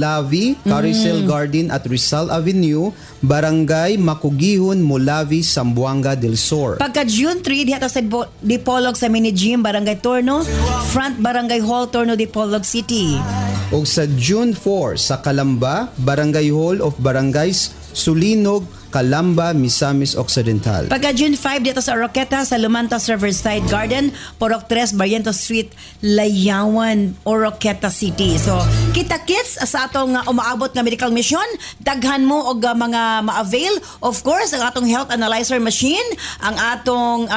Molavi, Carousel Garden at Rizal Avenue, Barangay Makugihon, Molavi, Zamboanga del Sur. Pagka June 3, diha ta sa Dipolog sa Mini Gym, Barangay Torno, Front Barangay Hall, Torno, Dipolog City. O sa June 4 sa Calamba, Barangay Hall of Barangays Sulinog, Calamba, Misamis Occidental. Pagka June 5, dito sa Oroquieta, sa Lumantas Riverside Garden, Purok 3, Barrientos Street, Layawan, Oroquieta City. So, kita kits sa atong umaabot nga medical mission, daghan mo og mga ma-avail. Of course, ang atong health analyzer machine, ang atong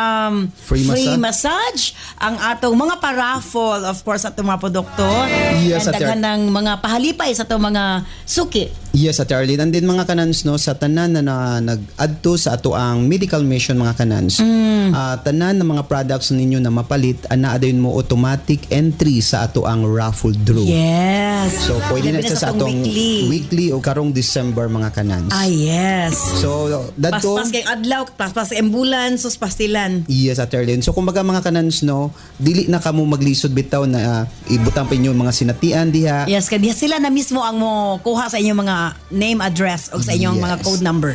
free free massage, ang atong mga paraffle, of course, atong mga produkto. Yes, and Ate daghan ng mga pahalipay sa atong mga suki. Yes, Ate Arlene. And then mga kanans, no, sa tanan na nag-adto sa ato ang medical mission, mga kanans, tanan ng mga products ninyo na mapalit, ana dayon mo automatic entry sa ato ang raffle draw. So pwede na Labi siya sa atong weekly. Weekly o karong December, mga kanans. Ah, yes. So dadto Paspas kay adlaw, paspas kay ambulance, sus pastilan. Yes, Ate Arlene. So kumbaga, mga kanans, no, dili na kamo maglisod bitaw na ibutang pa inyo mga sinatian diha. Yes, kay diha sila na mismo ang mo kuha sa inyong mga name, address o sa inyong mga code number.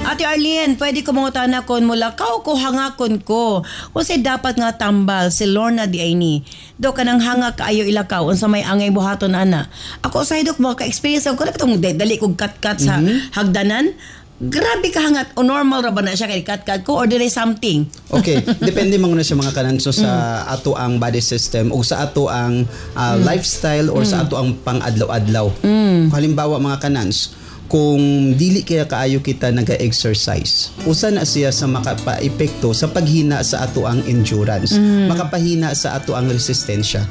Ate Arlene, pwede ko mangutana kon mulakaw ko, hangakon ko? Unsay dapat nga tambal? Si Lorna di ay ni. Do kanang hanga kaayo ilakaw, unsa may angay buhaton ana? Ako usahay, Dok, mo ka-experience ako katong dali kog kat-kat sa hagdanan. Grabe ka hangat. O normal ra ba na siya kay kat-kat ko or dili something? Okay, depende man na sa mga kananso sa ato ang body system o sa ato ang lifestyle or sa ato ang pang-adlaw-adlaw. Halimbawa, mga kanans, kung dili kaya kaayo kita naga-exercise, usa na siya sa makapa-epekto sa paghina sa ato ang endurance, makapahina sa ato ang resistensya.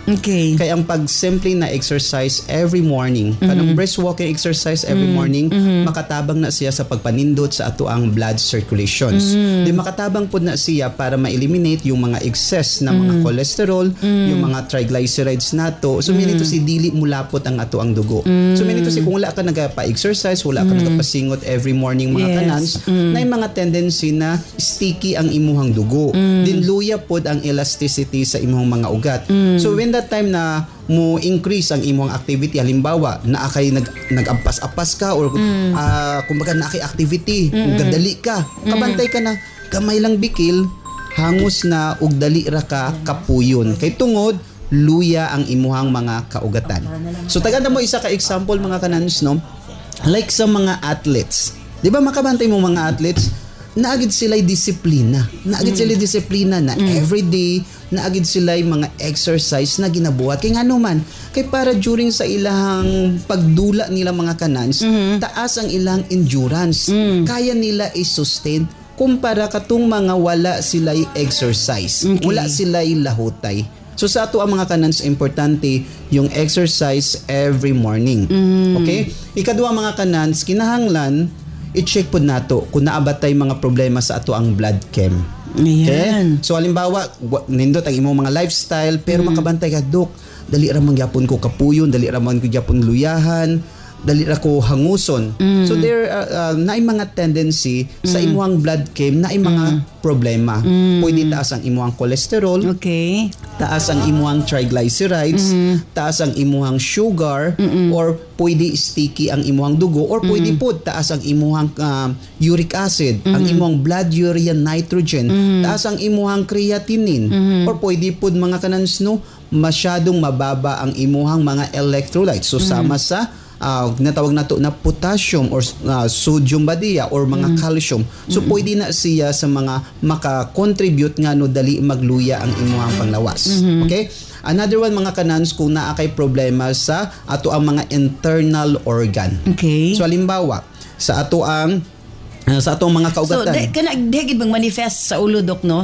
Kaya ang pag simple na exercise every morning, kanang brisk walking exercise every morning, makatabang na siya sa pagpanindot sa ato ang blood circulations. Di makatabang pud na siya para ma-eliminate yung mga excess na mga cholesterol, yung mga triglycerides nato. So meaning to say dili mulapot ang ato ang dugo. So meaning to say kung wala ka nagapa-exercise, wala ka nagapasingot every morning, mga kanans, na yung mga tendency na sticky ang imuhang dugo. Din luya pod ang elasticity sa imuhang mga ugat. So when that time na mo increase ang imuhang activity, halimbawa naa kay nag-ampas-apas ka or kumbaga naa kay activity, gadali ka, kabantay ka na gamay lang bikil, hangos na ug dali ra ka kapuyon kay tungod luya ang imuhang mga kaugatan. So tagaan mo isa ka example, mga kanans, no, like sa mga athletes. Di ba makabantay mo mga athletes, naagid sila'y disiplina. Naagid sila'y disiplina na everyday, naagid sila'y mga exercise na ginabuhat. Kay ngano man, kay para during sa ilang pagdula nila, mga kanans, taas ang ilang endurance. Kaya nila i-sustain kumpara katong mga wala sila'y exercise. Wala sila'y lahutay. So sa ato ang mga kanans, importante yung exercise every morning. Okay? Ikaduha, mga kanans, kinahanglan i-check pod nato kung naa ba tay mga problema sa ato ang blood chem. Okay? Ayan. So halimbawa, nindot ang imong mga lifestyle pero makabantay ka, "Dok, dali ra man gyapon ko kapuyon, dali ra man ko gyapon luyahan, dali ra ko hanguson." So there naay mga tendency sa imong blood chem naay mga problema. Pwede taas ang imong cholesterol, taas ang imuhang triglycerides, taas ang imuhang sugar, or pwede sticky ang imuhang dugo, or pwede po taas ang imuhang uric acid, ang imuhang blood urea nitrogen, taas ang imuhang creatinine, or pwede po, mga kanans, no, masyadong mababa ang imuhang mga electrolytes. So sama sa natawag nato na potassium or sodium ba diya or mga calcium. So pwede na siya sa mga maka-contribute nga no dali magluya ang imuhang panglawas. Okay? Another one, mga kanans, kung naa kay problema sa ato ang mga internal organ. So halimbawa sa atong mga So, kaugatan. di, kana, di gid bang manifest sa ulo, Dok, no?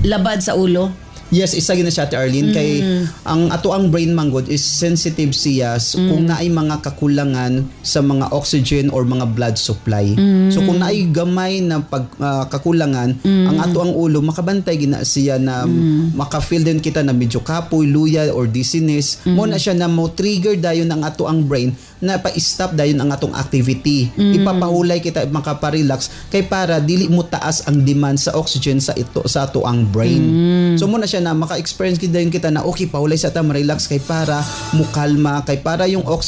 Labad sa ulo. Yes, isa gid na siya, Ate Arlene, kay ang ato ang brain manggod is sensitive siya kung naay mga kakulangan sa mga oxygen or mga blood supply. So kung naay gamay na pag kakulangan, ang ato ang ulo makabantay gina siya na maka-feel din kita na medyo kapoy, luya or dizziness. Mo na siya na mo trigger dayon ang ato ang brain na pa-stop dayon ang atong activity. Ipapahulay kita makapa-relax kay para dili mo taas ang demand sa oxygen sa ito sa ato ang brain. So mo na siya na maka-experience kita dayon kita na okay, pahulay sa ta, ma-relax kay para mukalma kay para yung oxygen